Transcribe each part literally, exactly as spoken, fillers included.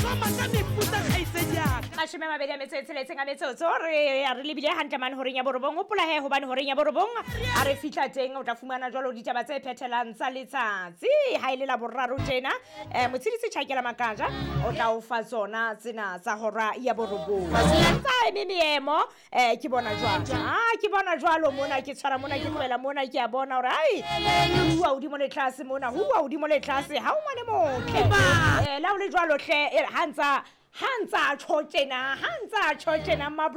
Soma ka mefuta kgaitsedi ya ka. Mashome a mabedi a metso e tsheletseng a metsotso re re lebile hantle mane horeng ya borobong. Hopola he hobane horeng ya borobong a re fihla teng o tla fumana jwalo ditaba tse phethelang tsa letsatsi. Ha e le la boraro tjena eh motshedisi Tjhakela Makaja o tla o fa tsona tsena tsa hora ya borobong. Tsa eme meemo eh ke bona jwalo. Ah ke bona jwalo mona ke tshwara mona ke tlohela mona ke a bona hore ai hua hodimo le tlase mona hua hodimo le tlase ha o ngwane motle. Eh la o le jwalo hle eh, ha ntsa ha ntsa tjho tjena ha ntsa tjho tjena ma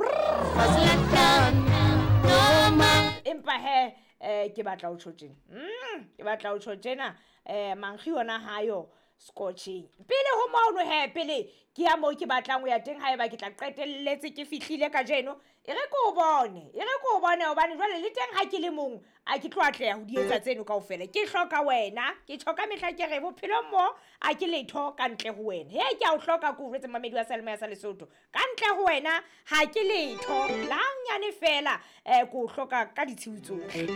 empa he eh ke batla o tjho tjena. Mm ke batla o tjho tjena eh mankgi yona hayo scotching. Pele ho mono he pele ke ya moo ke batlang ho ya teng haeba ke tla qetelletse ke fihlile kajeno e re ke o bone e re ke o bone hobane jwale le teng ha ke le mong a ke tlo atleha ho di etsa tseno kaofela. Ke hloka wena ke tjho ka mehla ke re bophelong mo a ke letho ka ntle ho wena. He ke a o hloka ke o jwetse mamedi wa Seyalemoya sa Lesotho ka ntle ho wena ha ke letho la nyane fela eh ke o hloka ka ditshiu tsohle.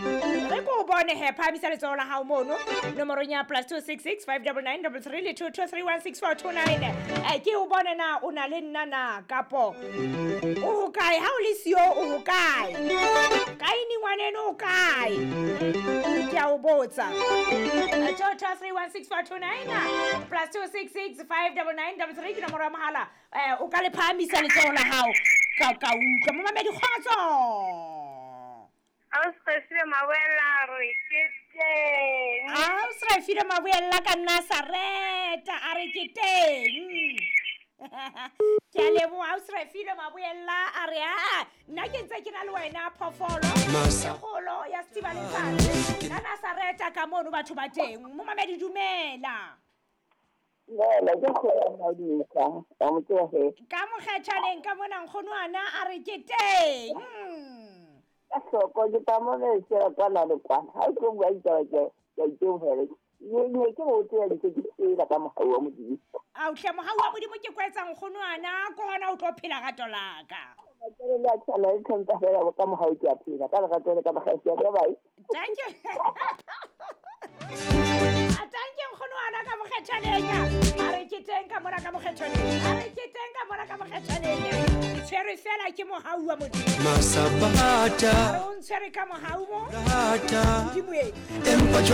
Re ke o bone he phahamisa letsoho la hao mono nomorong ya plus two six six five double nine double three le two two three one six four two nine. Eh ke o bone na o na le nna na kapo o hokae ha o le siyo o hokae kae ni ngwaneno o kae ke a o botsa. Two two three one six four two nine plus two six six five double nine double three ke nomoro ya mohala. Eh o ka le phahamisa letsoho la hao ka ka utlwa momamedi kgotso. Ausrefile Maboella re ke teng. Ausrefile Maboella ka Nazareta a re ke teng. Ke a leboha Ausrefile Maboella a re a nna ke ntse ke na le wena phoofolo e kgolo ya Setiba Letsatsi ka Nazareta ka mono batho ba teng. Momamedi dumela. Dumela ke kgolo Madisa wa mo tseba he. Ka mokgethaneng ka mona nkgono ana a re ke teng. Ka hloko ke tla mo le tsela kwa la le kwa. Ha ke bua ditaba ke ke itebohele. Ne ke o tsela ntse ke tsela ka mohau wa Modimo. A o hle mohau wa Modimo ke kwetsa nkgono ana ke hona o tlo phela rato la ka. Ke le la tsala le tlhompha fela ka mohau ke a phela ka lerato le ka makgasi ya ka bye. Thank you. Thank you nkgono ana ka mokgethaneng. A re ke teng ka mona ka mokgethaneng. A re ke teng ka mona ka mokgethaneng. Ke tshwerwe fela ke mohau wa Modimo. Masabata. O ntshwere ka mohau mo. Rata. Modimo e. Empa